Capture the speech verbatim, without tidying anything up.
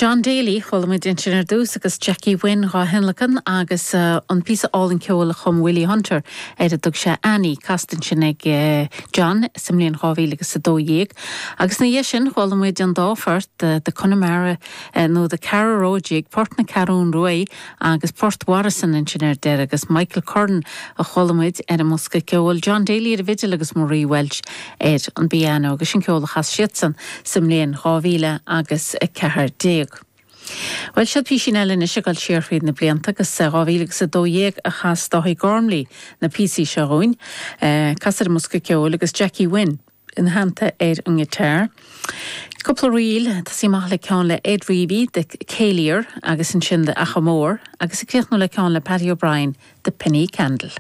John Daly chuala muid ansin ar dtús agus Jackie Wynne dhá thionlacan agus uh, an píosa álainn ceoil a chum Willie Hunter ar a dtug sé Annie casta ansin ag uh, John sa mbliain dhá mhíle agus a dó dhéag. Agus ina dhiaidh sin chuala muid an dá phort uh, de Connemara uh, nó de Caragh Road Jig Port na Ceathrún Rua agus Port Warison ansin ar deireadh agus Michael Curran a chuala muid ar an mbosca ceoil John Daly ar an bhfidil agus Marie Welch ar an bpianó agus sin ceol a chas siadsan sa mbliain dhá mhíle agus a ceathair déag. Well seo píosaí eile anois ag dul siar fríd na blianta agus dhá mhíle agus a dó dhéag a chas Dáithí Gormley na píosaí seo dhúinn, casta ar an mbosca ceoil agus Jackie Wynne ina theannta ar an ngiotár. Cúpla ríl tosaí amach le ceann le Ed Reavy de Céiliar agus ansin de Achamór agus ag críochnú le ceann le Paddy O'Brien de Penny Candle.